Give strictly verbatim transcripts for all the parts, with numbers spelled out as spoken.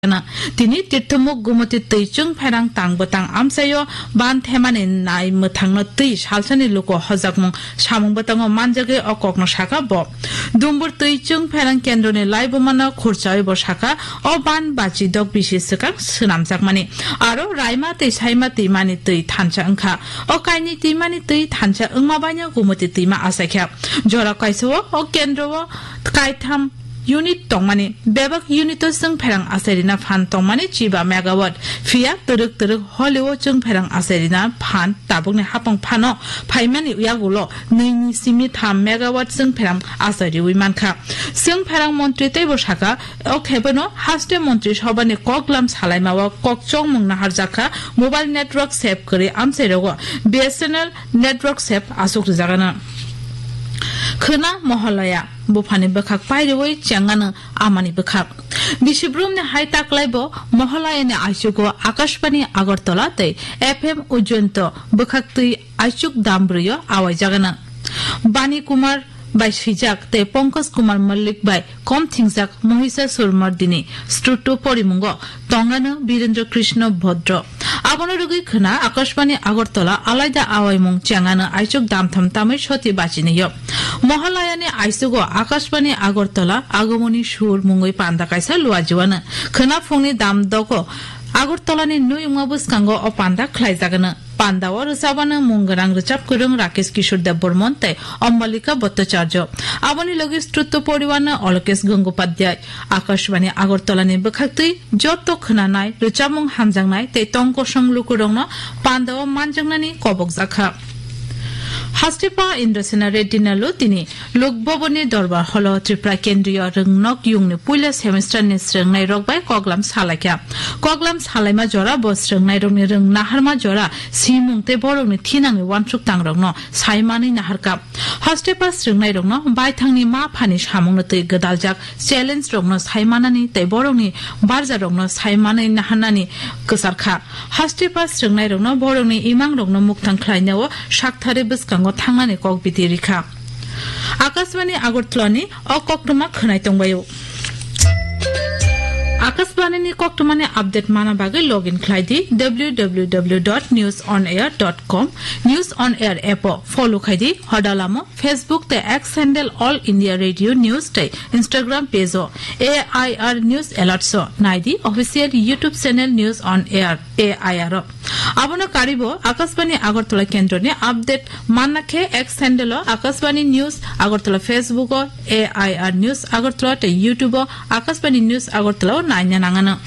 Tini Tirthomuk Gumoti twi chwng pherang tang bwtang amchaio ban themani nai mwthangno twi salsani luku hojakmung samung bwtango manjagwi o kokno saka bo. Dumbur twi chwng pherang kendroni laibumano khurchawi bo saka o ban bachi dok bisi swkang swnamjakmani. Aro Raima tei Saima twimani twi thansa wngkha. O kainwi twimani twi thansa wngma baino Gumoti twima achaikha. Jora kaisao o kendro o kaitham unit tongmani, bebak unit o chwng pherang achairina phan tongmani chiba megawatt. Phiya twrwk twrwk holi o chwng pherang achairina phan tabukni hapang phano phaimani yagulo nwi ni simi tham megawatt chwng pherang achariwi mankha. Chwng pherang montri teibo saka, o khebono haste montri sobhani koklam salaima o kok chongmung naharjakha, mobile network sep kwrwi amchairogo B S N L network sep aswk rwjagano. Khwna Mohalaya, buphani bwkhak pairiwi chengano amani bwkhak. Bisi brumni hai taklaibo Mohalayani aichugo Akashbani Agartala tei F M Ujjainto bwkhaktwi aichuk dam brwio awaijagano. Bani Kumar bai swijak tei Pankaj Kumar Mallik bai kom thingjak Mahisasur Mardini Strutto porimungo tongano Birendra Krishna Bhodro. Abono rwgwi khwna Akashbani Agartala alaida awaimung chengano aichuk damtham tamwi soti bachinio. Mohalayani aichugo Akashbani Agartala Agomoni Sur mungwi panda kaisa luajiwano. Khwna phungni dam dogo Agartalani nui wngma bwskango o panda khlaijagano. Pandao rwchabano mung gwnang rwchap kwrwng Rakesh Kishore Debbarman tei Ambalika Bhattacharya. Aboni logi Strutto poriwano Alokesh Gangopadhyay. Akashbani Agartalani bwkhaktwi joto khwnanai, rwchapmung hamjaknai tei tong kosong lukurokno pandao manjaknani kobokjakha. Hastepa Indrasena Reddy Nalo tini Lok Bhavanni Dorbar Hall o Tripura Kendriya Rwngnok Yungni puila semester ni srwngnairok bai koklam salaikha. Koklam salaima jora bo srwngnairokni rwng naharma jora simung tei borokni thinangni uansuk tangrokno saimanwi naharkha. Hastepa srwngnairokno baithangni ma phani samungno twi gwdaljak challenge rokno saimanani tei borokni barjarokno saimanwi naharnani kwcharkha. Hastepa srwngnairokno borokni imangrokno mukthang khlainao saktharwi bwskango thangnani kok biti rikha. Akashbani Agartalani o koktwma khwnai tongbaio. Akashbanini koktwmani update mana bagwi login khlai di W W W dot news on air dot com, News on Air app o follow khai di, hodalamo Facebook tei X handle All India Radio News tei Instagram page o A I R News Alerts o nai di, official YouTube channel News on Air A I R o. Abono karibo Akashbani Agartala kendroni update manna khe X handle o Akashbani News Agartala, Facebook o A I R News Agartala tei YouTube o Akashbani News Agartala o naina nangano.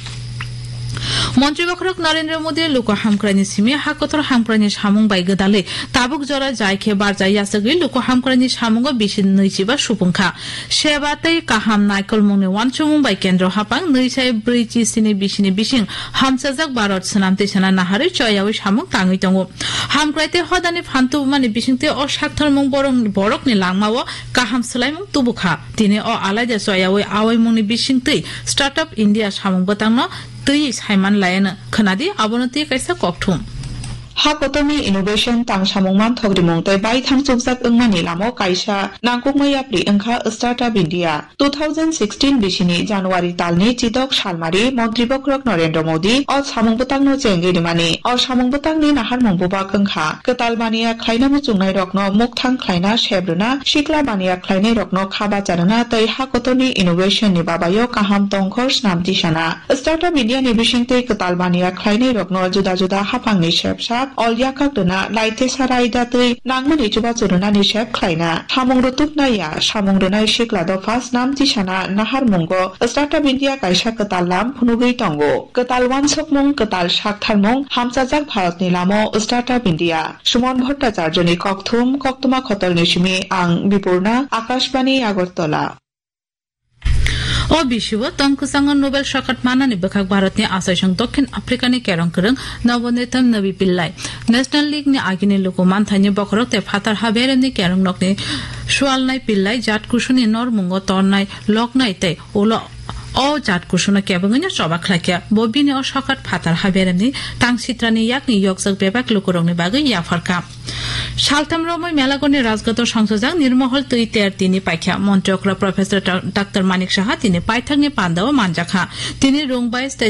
Montri bokhorok Narendra Modi luku hamkraini simi ha kotor hamkraini samung bai gwdalwi tabuk jora jai khe barja yachagwi luku hamkraini samungo bisi nwichiba supung kha. Seba tei kaham naikolmungni uansukmung bai kendro haphang nwi sai brwi chi sini bisini bising hamchajak Bharat swnam twisana naharwi choyawi samung tangwi tongo. Hamkrai tei hodani phan tubumani bisingtwi o saktharmung borok, borokni langmao kaham swlaimung tubukha. Tini o alaida choyawi awaimungni bisingtwi Startup India samung bwtangno twiwi saiman laiano. Khwnadi abono twi kaisa kokthum. Ha kotorni innovation tang samung manthok rimung tei baithang chukjak wngmani lamo kaisa nangkukma yapri wngkha Startup India. Two thousand sixteen bisini January talni chidok salmari Montri bokhorok Narendra Modi o samung bwtangno chengwi rimani. O samung bwtangni naharmung bubak wngkha kwtal baniya khlaina muchungnairokno mukthang khlaina, sep rwna, sikla baniya khlainairokno kha bacha rwna tei ha kotorni innovation ni babayo kaham tongkhor snam tisana. Startup India ni bisingtwi kwtal baniya khlainairokno juda juda haphangni sep sak, ol yakak rwna, laitesa rai datwi nangmani chubachu rwnani sep khlaina. Samung rwtubnai ya, samung rwnai sikla dopha snam tisana naharmungo Startup India kaisa kwtal lam phunugwi tongo. Kwtal uansukmung, kwtal saktharmung, hamchajak Bharatni lamo Startup India. Suman Bhattacharjani kokthum, koktwma khotolni simi ang Bipurna, Akashbani Agartala. O bisio tong kwchango Nobel sokat manani bwkhak Bharatni achaisong Dokhin Afrikani kerong kwrwng Nabonditam Nabi Pillai. National League ni agini luku manthaini bokhorok tei phatar ha beremni kerong nokni sualnai Pillai jat kusuni normungo tornai loknai tei ulo O jat kusuno kebengwino choba khlaikha. Bo bini o sokat phatar ha beremni tang sitrani yakni yokjak bebak lukurokni bagwi yapharkha. Saltham romwi Melagorni Rajghat o sangsajak Nirmohol twi ter tini paikha. Montri okra Professor Doctor Manik Saha tini paithakni pandao manjakha. Tini Rungbai State